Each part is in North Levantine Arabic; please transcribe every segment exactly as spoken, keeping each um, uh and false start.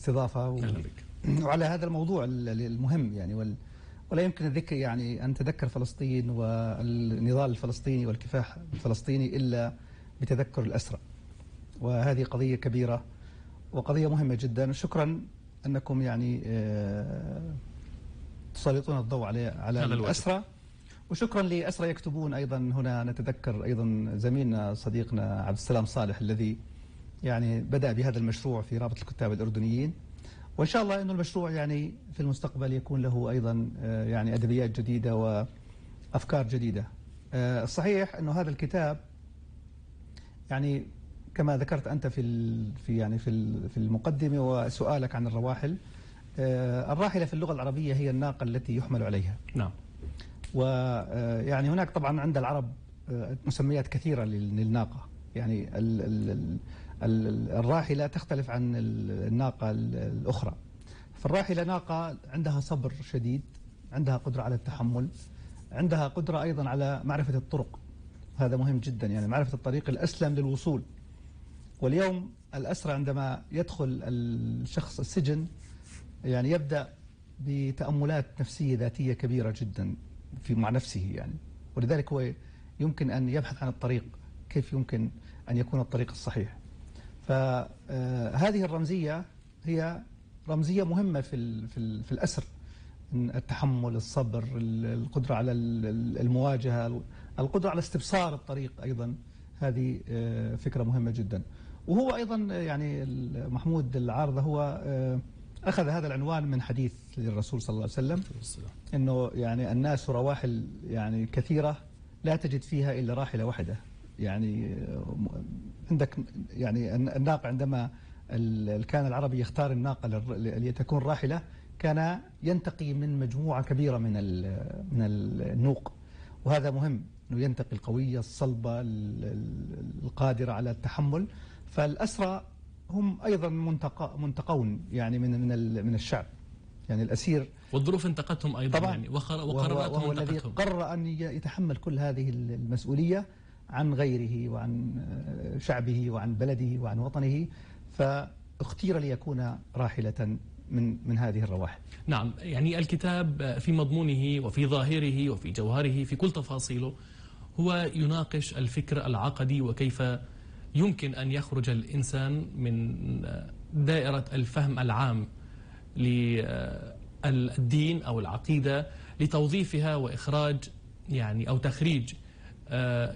استضافة و... وعلى هذا الموضوع المهم يعني وال... ولا يمكن الذكر يعني أن تذكر فلسطين والنضال الفلسطيني والكفاح الفلسطيني إلا بتذكر الأسرى، وهذه قضية كبيرة وقضية مهمة جدا. شكرا أنكم يعني تسلطون الضوء على على الأسرى، وشكرا لأسرى يكتبون. أيضا هنا نتذكر أيضا زميلنا صديقنا عبد السلام صالح الذي يعني بدأ بهذا المشروع في رابطة الكتاب الأردنيين، وإن شاء الله أنه المشروع يعني في المستقبل يكون له أيضا يعني أدبيات جديدة وأفكار جديدة. الصحيح أنه هذا الكتاب يعني كما ذكرت أنت في في يعني في في المقدمة وسؤالك عن الرواحل، الراحلة في اللغة العربية هي الناقة التي يحمل عليها. نعم. ويعني هناك طبعا عند العرب مسميات كثيرة للناقة، يعني ال ال ال الراحلة تختلف عن الناقة الأخرى. فالراحلة ناقة عندها صبر شديد، عندها قدرة على التحمل، عندها قدرة أيضا على معرفة الطرق، هذا مهم جدا، يعني معرفة الطريق الأسلم للوصول. واليوم الأسرى عندما يدخل الشخص السجن يعني يبدأ بتأملات نفسية ذاتية كبيرة جدا في مع نفسه يعني، ولذلك هو يمكن أن يبحث عن الطريق، كيف يمكن أن يكون الطريق الصحيح. فهذه الرمزية هي رمزية مهمة في في في الأسر، التحمل، الصبر، القدرة على المواجهة، القدرة على استبصار الطريق، أيضا هذه فكرة مهمة جدا. وهو أيضا يعني محمود العارضة هو أخذ هذا العنوان من حديث للرسول صلى الله عليه وسلم، إنه يعني الناس رواحل يعني كثيرة لا تجد فيها إلا راحلة واحدة. يعني عندك يعني الناقة عندما كان العربي يختار الناقة لتكون راحلة كان ينتقي من مجموعة كبيرة من من النوق، وهذا مهم انه ينتقي القوية الصلبة القادرة على التحمل. فالأسرى هم أيضا منتقى منتقون يعني من من من الشعب، يعني الأسير والظروف انتقتهم أيضا طبعا، يعني وقراراتهم وهو الذي قرر أن يتحمل كل هذه المسؤولية عن غيره وعن شعبه وعن بلده وعن وطنه، فاختير ليكون راحلة من من هذه الرواحل. نعم، يعني الكتاب في مضمونه وفي ظاهره وفي جوهره في كل تفاصيله هو يناقش الفكر العقدي، وكيف يمكن أن يخرج الإنسان من دائرة الفهم العام للدين أو العقيدة لتوظيفها وإخراج يعني أو تخريج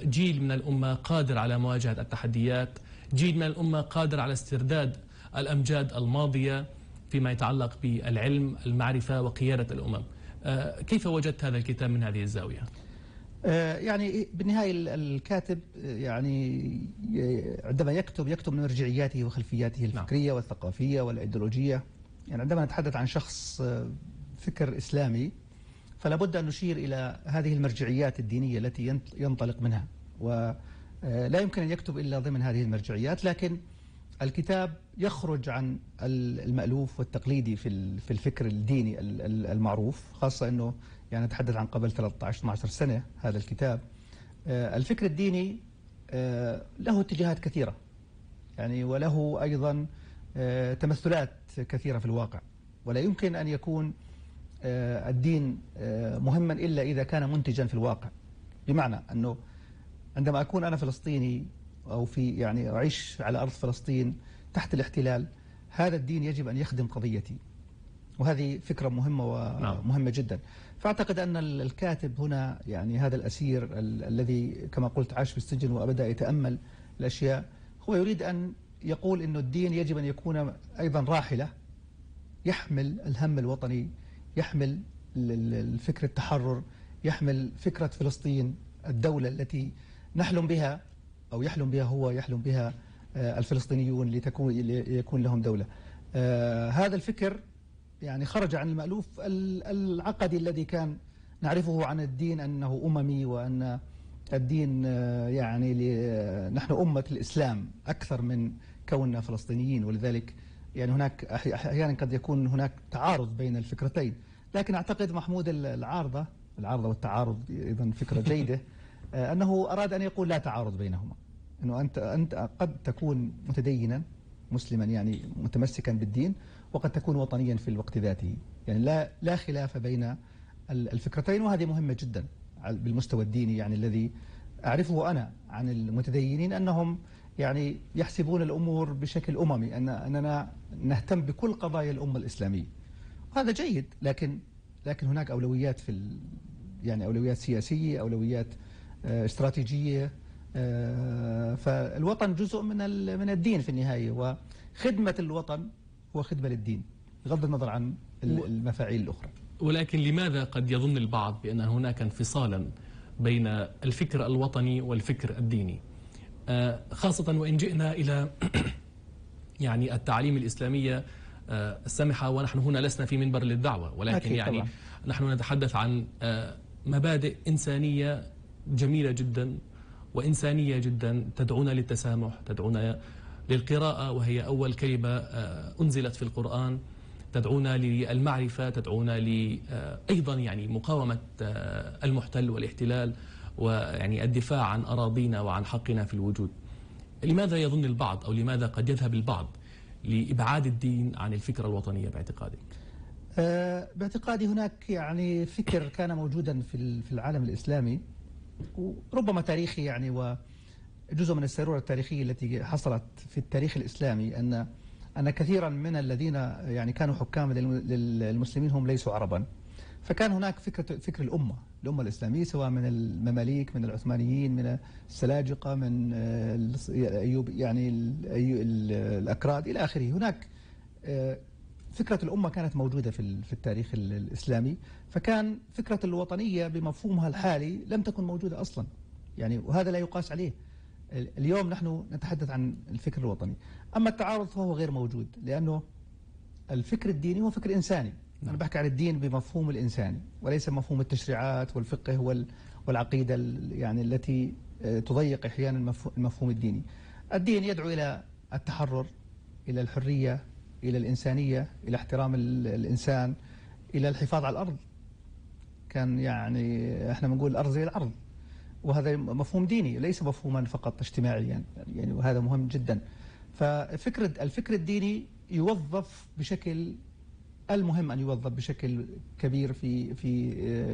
جيل من الأمة قادر على مواجهة التحديات، جيل من الأمة قادر على استرداد الأمجاد الماضية فيما يتعلق بالعلم، المعرفة، وقيادة الأمم. كيف وجدت هذا الكتاب من هذه الزاوية؟ يعني بالنهاية الكاتب يعني عندما يكتب يكتب من مرجعياته وخلفياته الفكرية والثقافية والإيديولوجية. يعني عندما نتحدث عن شخص فكر إسلامي فلا بد أن نشير إلى هذه المرجعيات الدينية التي ينطلق منها، ولا يمكن أن يكتب إلا ضمن هذه المرجعيات. لكن الكتاب يخرج عن المألوف والتقليدي في في الفكر الديني المعروف، خاصة أنه يعني نتحدث عن قبل ثلاثة عشر اثني عشر سنة هذا الكتاب. الفكر الديني له اتجاهات كثيرة يعني، وله أيضا تمثلات كثيرة في الواقع، ولا يمكن أن يكون الدين مهما إلا إذا كان منتجا في الواقع. بمعنى أنه عندما أكون أنا فلسطيني أو في يعني أعيش على أرض فلسطين تحت الاحتلال، هذا الدين يجب أن يخدم قضيتي، وهذه فكرة مهمة ومهمة جدا. فأعتقد أن الكاتب هنا يعني هذا الأسير ال الذي كما قلت عاش في السجن وبدأ يتأمل الأشياء، هو يريد أن يقول أنه الدين يجب أن يكون أيضا راحلة يحمل الهم الوطني، يحمل الفكر التحرر، يحمل فكرة فلسطين الدولة التي نحلم بها أو يحلم بها هو يحلم بها الفلسطينيون لتكون يكون لهم دولة. آه هذا الفكر يعني خرج عن المألوف العقدي الذي كان نعرفه عن الدين أنه أممي، وأن الدين يعني نحن أمة الإسلام أكثر من كوننا فلسطينيين، ولذلك يعني هناك أحيانا قد يكون هناك تعارض بين الفكرتين. لكن أعتقد محمود العارضة العارضة والتعارض أيضا فكرة جيدة، أنه أراد أن يقول لا تعارض بينهما، أنه أنت أنت قد تكون متدينا مسلما يعني متمسكا بالدين، وقد تكون وطنيا في الوقت ذاته. يعني لا لا خلاف بين الفكرتين، وهذه مهمة جدا بالمستوى الديني. يعني الذي أعرفه أنا عن المتدينين أنهم يعني يحسبون الأمور بشكل أممي، أن أننا نهتم بكل قضايا الأمة الإسلامية، وهذا جيد. لكن لكن هناك أولويات في ال يعني أولويات سياسية، أولويات استراتيجية. فالوطن جزء من من الدين في النهاية، وخدمة الوطن هو خدمة للدين بغض النظر عن المفاعيل الأخرى. ولكن لماذا قد يظن البعض بأن هناك انفصالا بين الفكر الوطني والفكر الديني، خاصة وإن جئنا إلى يعني التعاليم الإسلامية السامحة، ونحن هنا لسنا في منبر للدعوة، ولكن يعني طبعا. نحن نتحدث عن مبادئ إنسانية جميلة جدا وإنسانية جدا، تدعونا للتسامح، تدعونا للقراءة وهي أول كلمة أنزلت في القرآن، تدعونا للمعرفة، تدعونا أيضا يعني مقاومة المحتل والاحتلال، ويعني الدفاع عن أراضينا وعن حقنا في الوجود. لماذا يظن البعض أو لماذا قد يذهب البعض لإبعاد الدين عن الفكرة الوطنية باعتقادك؟ أه باعتقادي هناك يعني فكر كان موجودا في في العالم الإسلامي، وربما تاريخي يعني، وجزء من السيرورة التاريخية التي حصلت في التاريخ الإسلامي، أن أن كثيرا من الذين يعني كانوا حكام للمسلمين هم ليسوا عربا. فكان هناك فكرة فكر الأمة الأمة الإسلامية، سواء من المماليك، من العثمانيين، من السلاجقة، من أيوب يعني الأكراد إلى آخره. هناك فكرة الأمة كانت موجودة في في التاريخ الإسلامي، فكان فكرة الوطنية بمفهومها الحالي لم تكن موجودة أصلا يعني، وهذا لا يقاس عليه. اليوم نحن نتحدث عن الفكر الوطني. أما التعارض فهو غير موجود، لأنه الفكر الديني هو فكر إنساني. أنا بحكي عن الدين بمفهوم الإنساني، وليس مفهوم التشريعات والفقه والعقيدة يعني التي تضيق أحيانا المفهوم الديني. الدين يدعو إلى التحرر، إلى الحرية، إلى الإنسانية، إلى احترام الإنسان، إلى الحفاظ على الأرض. كان يعني احنا بنقول الأرض زي الأرض، وهذا مفهوم ديني ليس مفهوما فقط اجتماعيا يعني, يعني وهذا مهم جدا. ففكرة الفكر الديني يوظف بشكل المهم أن يوظف بشكل كبير في في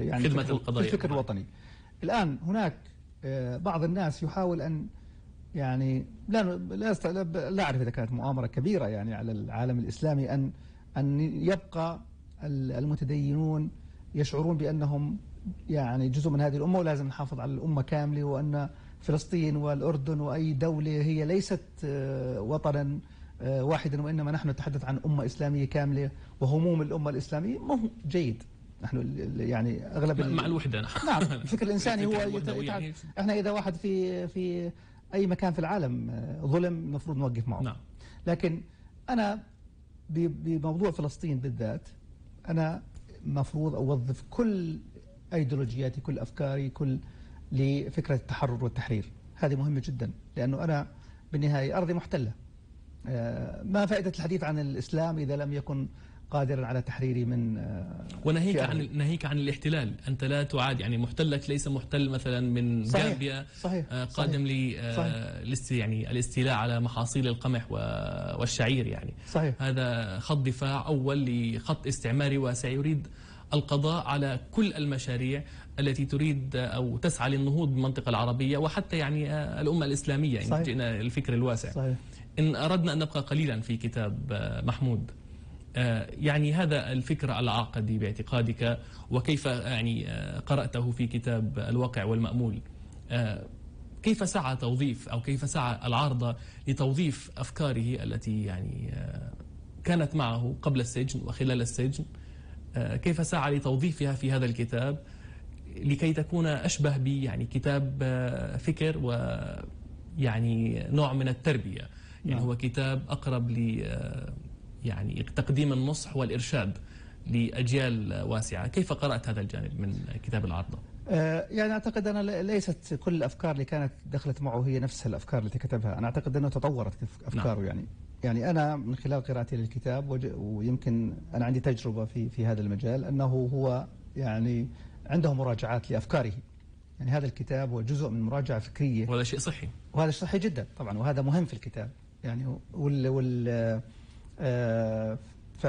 يعني خدمة القضايا في الفكر الوطني. الآن هناك بعض الناس يحاول أن يعني لا لا لا أعرف إذا كانت مؤامرة كبيرة يعني على العالم الإسلامي أن أن يبقى المتدينون يشعرون بأنهم يعني جزء من هذه الأمة، ولازم نحافظ على الأمة كاملة، وأن فلسطين والأردن وأي دولة هي ليست وطنا واحدا، وإنما نحن نتحدث عن أمة إسلامية كاملة وهموم الأمة الإسلامية. ما هو جيد. نحن يعني أغلب مع الوحدة. نعم. الفكر الإنساني هو يعني إحنا إذا واحد في في أي مكان في العالم ظلم المفروض نوقف معه. نعم. لكن أنا بموضوع فلسطين بالذات أنا مفروض أوظف كل أيديولوجياتي، كل أفكاري، كل لفكرة التحرر والتحرير. هذه مهمة جدا، لأنه أنا بالنهاية أرضي محتلة. ما فائدة الحديث عن الإسلام إذا لم يكن قادرا على تحريري من وناهيك عن ناهيك عن الاحتلال. أنت لا تعاد يعني محتلك ليس محتل مثلا من جامبيا قادم لي يعني الاستيلاء على محاصيل القمح والشعير يعني. صحيح. هذا خط دفاع أول لخط استعماري واسع يريد القضاء على كل المشاريع التي تريد أو تسعى للنهوض بالمنطقة العربية وحتى يعني الأمة الإسلامية. إن جئنا الفكر الواسع. صحيح. إن أردنا أن نبقى قليلا في كتاب محمود، يعني هذا الفكر العقدي باعتقادك وكيف يعني قرأته في كتاب الواقع والمأمول، كيف سعى توظيف أو كيف سعى العارضة لتوظيف أفكاره التي يعني كانت معه قبل السجن وخلال السجن، كيف سعى لتوظيفها في هذا الكتاب لكي تكون أشبه ب يعني كتاب فكر ويعني نوع من التربية. يعني هو كتاب أقرب ل يعني تقديم النصح والإرشاد لأجيال واسعة. كيف قرأت هذا الجانب من كتاب العارضة؟ يعني أعتقد أنا ليست كل الأفكار اللي كانت دخلت معه هي نفس الأفكار التي كتبها. أنا أعتقد أنه تطورت أفكاره. نعم. يعني يعني أنا من خلال قراءتي للكتاب ويمكن أنا عندي تجربة في في هذا المجال، أنه هو يعني عنده مراجعات لأفكاره. يعني هذا الكتاب هو جزء من مراجعة فكرية، وهذا شيء صحي. وهذا صحي جدا طبعا، وهذا مهم في الكتاب يعني. وال وال ف